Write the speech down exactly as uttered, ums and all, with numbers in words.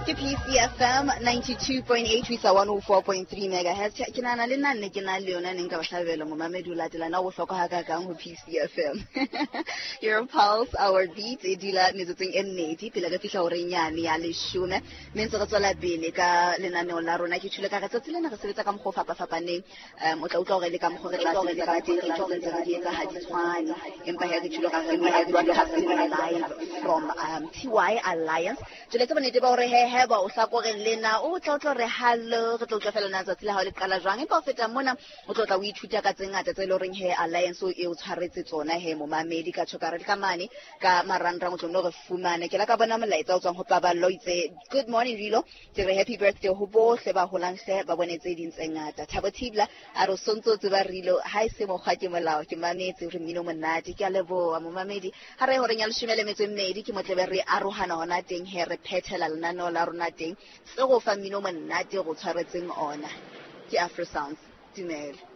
Ke P C F M ninety-two point eight ho isa one oh four point three megahertz. Ke nahana le nna nne ke na le yona ne nka ba hlabela momamedi o latela na o bohlokwa hakakang ho P C F M. Your pulse, our beat e dula metsotsong e mmedi pele re fihla horeng yane ya leshome. Mme ntse re tswela pele ka lenaneo la rona. Ke tjhole ka re tsatsi lena re sebetsa ka mokgwa o fapafapaneng. Um, o tla utlwa hore le ka mokgwa re tla sebetsa ka teng, re tla ntse re di etsa ha di tshwane. Empa he re tjhole ka re live from um, T Y Alliance. Jwale tse bonnete ba hore he heba o hlakoreng lena o tla utlwa hore hallo, re tla utlwa fela na tsatsi la hao le qala jwang. Empa ho feta mona o tlo tla o ithuta ka tse ngata tse leng horeng he Alliance e o tshwaretse tsona he momamedi ka tjho ka re le ka mane ka marangrang o tlo nno re fumane. Ke la ka bona molaetsa o tswang ho Paballo o itse good morning Rilo, ke re happy birthday ho bohle ba holang hle ba bone tse ding tse ngata. Thabo Thibla a re o sontso o tseba Rilo ha e se mokgwa ke molao, ke mametse re mmino monate. Ke a leboha momamedi. Ha re horeng ya leshome le metso e mmedi ke motlebe re arohana hona teng he re phethela lenaneo la rona teng se go fa mmino monate go tshwaretseng ona. Ke Afro Sounds. Dumela.